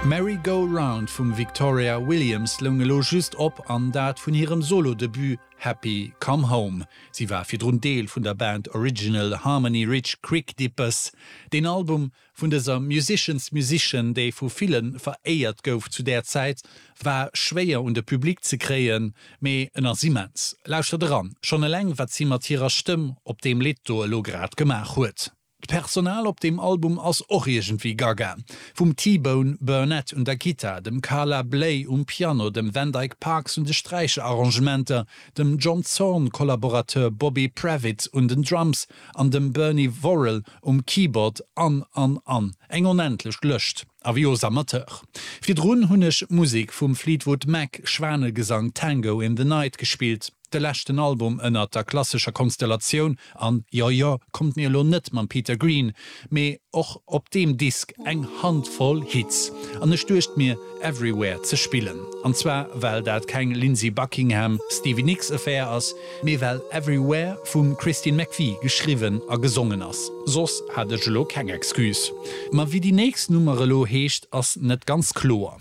Merry Go Round vum Victoria Williams loung elo just op, an dat vun hirem Solo-Debut Happy Come Home. Si war virdrun Deel vun der Band Original Harmony Ridge Creek Dippers. Deen Album vun dëser Musician's Musician, déi vu ville veréiert gouf zu där Zäit, war schwéier un de Public ze kréien, mee en ass immens. Lauschtert eran, schonn eleng wat si mat hirer Stëmm op deem Lidd do elo grad gemaach huet. D'Personal op deem Album ass och iergendwéi gaga. Vum T-Bone Burnett un der Gittar, dem Carla Bley um Piano, dem Van Dyke Parks un de Sträicherarrangementer, dem John Zorn-Kollaborateur Bobby Previte un den Drums an dem Bernie Worrell um Keyboard an, an, an. Eng onendlech Lëscht. Avis aux amateurs. Virdrun hunn ech Musek vum Fleetwood Mac, Schwanegesang, Tango in the Night gespillt. De leschten Album ënnert der klassescher Konstellatioun, an jo jo, kommt mir elo net mam Peter Green, mee och op deem Disk eng Handvoll Hits. An ech duecht mir, Everywhere ze spillen. An zwar well dat keng Lindsey Buckingham, Stevie Nicks Affaire ass, mee well Everywhere vum Christine McVie geschriwwen a gesongen ass. Soss hat ech elo keng Excuse. Ma wéi déi nächst Nummer elo heescht, ass net ganz kloer.